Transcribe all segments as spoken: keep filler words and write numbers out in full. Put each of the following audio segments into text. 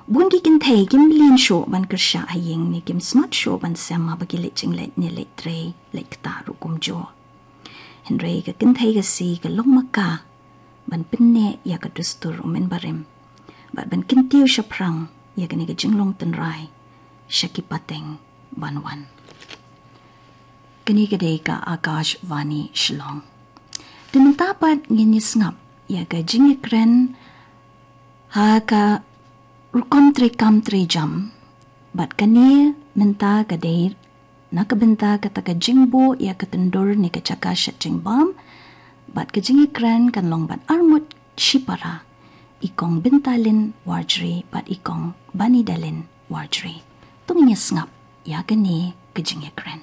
Bun ki kynthei kim lin shuh ban kyrsha ha ïing ne kim smat shuh ban sem haba ki leit jingleit ne leit trei leit ktah ruh kumjuh. Hynrei ka kynthei ka sngi ka long ma ka ban pynneh ïa ka dustur u mynbarim bad ban kyntiew shaphrang ïa kane ka jinglong tynrai sha ki pateng ban wan. Kane ka dei ka Akashvani Shillong. Te mynta pat ngin ïa sngap ïa ka jingïakren ha ka rukom treikam treijam. Bad kane mynta ka dei na ka bynta kata ka jingbuh ïa ka tyndur ne ka jaka shet jingbam. Bad ka jingïakren kan long bad arngut shipara, i Kong Byntalin Warjri bad i Kong Banidalin Warjri. To ngin ïa sngap ïa kane ka jingïakren.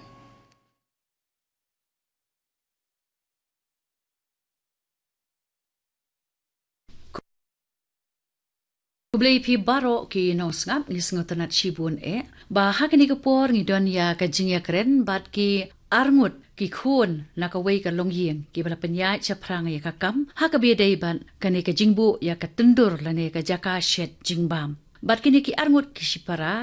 Khublei phi baroh ki nongsngap, ngi sngewtynnat shibun eh ba ha kane ka por ngi don ïa ka jingïakren bad ki arngut ki khun na kawei ka longïing kiba la pynïaid shaphrang ïa ka kam ha kaba ïadei bad kane ka jingbuh ïa ka tyndur lane ka jaka shet jingbam. Bad kine ki arngut ki shipara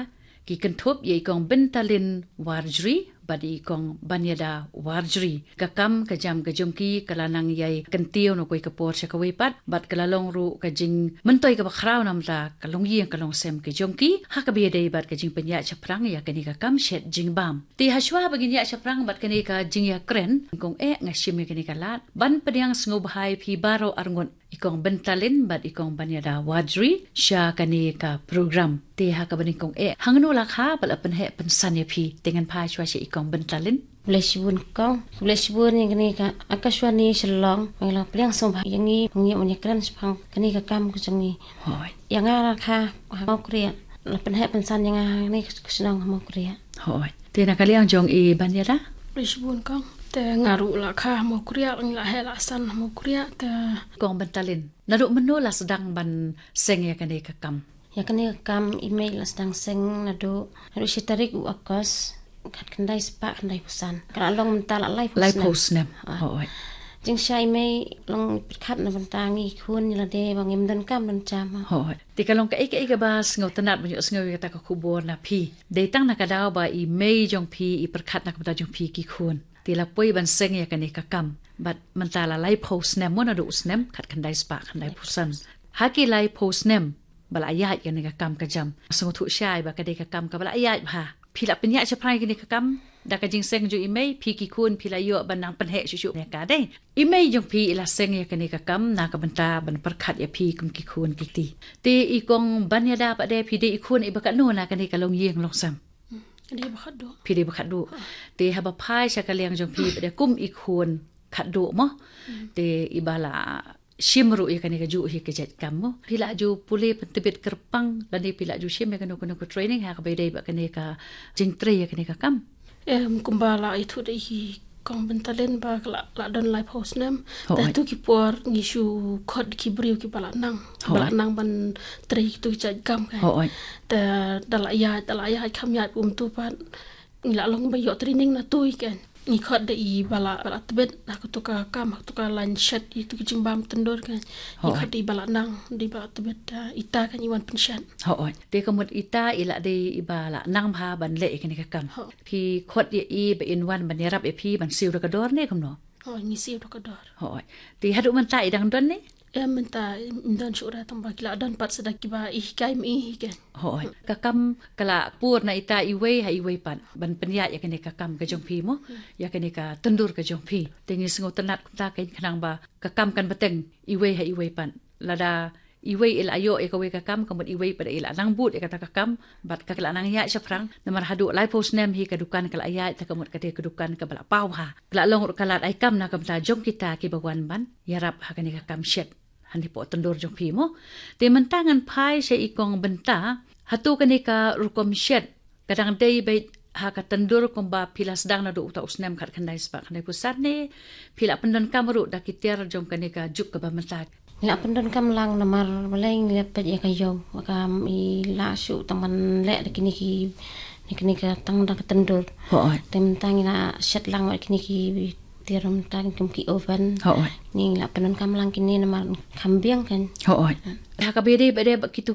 ki kynthup ïa i Kong Byntalin Warjri bad i Kong Baniada Warjri. Ka kam ka jam ka jong ki ka la nang ïai kyntiew na kawei ka por sha kawei pat bad ka la long ruh ka jingmyntoi kaba khraw namar ka longïing ka longsem ka jong ki ha kaba ïadei bad ka jingpynïaid shaphrang ïa kane ka kam shet jingbam. Te hashwa ba ngin ïaid shaphrang bad kane ka jingïakren, kong eh, nga shim ïa kane ka lad ban pdiang sngewbha ïa phi baroh arngut, i Kong Byntalin bad i Kong Baniada Warjri sha kane ka program. Te ha kaba nyngkong eh, hangno la kha ba la pynheh pynsan ïa phi? Te ngan phai shuwa sha i Kong Byntalin. Khublei shibun kong, khublei shibun ïa kane ka Akashvani Shillong ba la pdiang sngewbha ïa ngi ban ïakren shaphang kane ka kam ka jong ngi. Hooid. Ïa nga la kha ha Mawkriah, la pynheh pynsan ïa nga ha kane ka shnong ha Mawkriah. Hooid. Te na ka liang jong i Baniada? Khublei shibun kong. Te nga ruh la kha ha Mawkriah, la heh la san ha Mawkriah te. Kong Byntalin, naduh mynno la sdang ban seng ïa kane ka kam? Ïa kane ka kam i mei la sdang seng naduh, naduh shi tarik u August, khatkhyndai spah khyndaiphew san. Ka la long mynta la laiphew snem. Laiphew snem. Ah. Hooid. Jingshai i mei long pyrkhat na bynta ngi khun ïa lade ba ngim don kam don jam. Hooid. Te ka long kaei kaei kaba sngewtynnat ban ïohsngew ïa kata ka khubor na phi? Dei tang na ka daw ba i mei jong phi i pyrkhat na ka bynta jong phi ki khun. Te la poi ban seng ïa kane ka kam. Bad mynta la laiphew snem, mo, naduh u snem khatkhyndai spah khyndaiphew san. Ha ki laiphew snem ba la ïaid kane ka kam ka jam, sngewthuh shai ba ka dei ka kam kaba la ïaid bha. Phi la pynïaid shaphrang ïa kane ka kam da ka jingseng jong i mei, phi ki khun phi la ïoh ban nang pynheh shuh shuh ne ka dei? I mei jong phi i la seng ïa kane ka kam na ka bynta ban pyrkhat ïa phi kum ki khun ki kti. Te i Kong Baniada pat de, phi dei i khun iba katno na kane ka longïing longsem? Hmm, dei ba khatduh. Phi dei ba khatduh. Ha. Te haba phai sha ka liang jong phi pat de kum i khun khatduh, mo? Hmm. Te iba la shim ruh ïa kane kajuh hi ka jait kam, mo? Phi la ju pule pyntbit kyrpang lane phi la ju shim ïa kano kano ka training ha kaba ïadei bad kane ka jingtrei ïa kane ka kam? Em, kumba la ïathuh da i Kong Byntalin ba ka la, la don laiphew snem. Hooid. Te tu ki por ngi shu khot ki briew kiba la nang, kiba la, hooid, nang ban trei tu ki jait kam ka. Hooid. Te da la ïaid, da la ïaid kham ïaid um tu pat ngi la long ba ïoh training na tu i kan. Ngi khot da iba la, ba la tbit ha katu ka kam, ha katu ka lain shet, itu ki jingbam tyndur kan. Ngi, hooid, khot da iba la nang, da iba la tbit, ah, ita kan i wan pynshet. Hooid. Te ka mut ita i la dei iba la nang bha ban leh ïa kane ka kam. Hooid. Phi khot ïa i ba in wan ban ïarap ïa phi ban siew da ka dor ne kumno? Hooid, ngi siew da ka dor. Hooid. Te haduh mynta i dang don ne? Em, mynta im don shuh re, tang ba ki la don pat sa da kiba i hikai mi hi kan. Hooid. Ka kam ka la pur na ita iwei ha iwei pat ban pynïaid ïa kane ka kam ka jong phi, mo? Hmm. Ïa kane ka tyndur ka jong phi. Te ngi sngewtynnat kumta kan, khnang ba ka kam kan bteng iwei ha iwei pat. Lada iwei i la ïoh ïa kawei ka kam, ka mut iwei pat i la nang bud ïa kata ka kam bad ka la nang ïaid shaphrang. Namar haduh laiphew snem hi ka dukan ka la ïaid, te ka mut ka dei ka dukan kaba la paw bha. Ka la long ruh ka lad ai kam na ka bynta jong kita kiba wan ban ïarap ha kane ka kam shet hangne hapoh tyndur jong phi, mo? Te mynta ngan phai sha i Kong Bynta. Hato kane ka rukom shet ka dang dei beit ha ka tyndur kumba phi la sdang naduh uta u snem khatkhyndai spah khyndaiphew san ne phi la pyndonkam ruh da ki tiar jong kane ka juk kaba mynta? Ngi la pyndonkam lang namar balei ngi la peit ïa ka ïew, ka i la shu tang ban leh da kine ki, kine ka tang da ka tyndur. Hooid. Te mynta ngi la shet lang bad kine ki tiar mynta kum ki oven. Hooid. Ngi la pyndonkam lang kine namar kham biang kan. Hooid. Ha kaba ïadei bad, bad kitu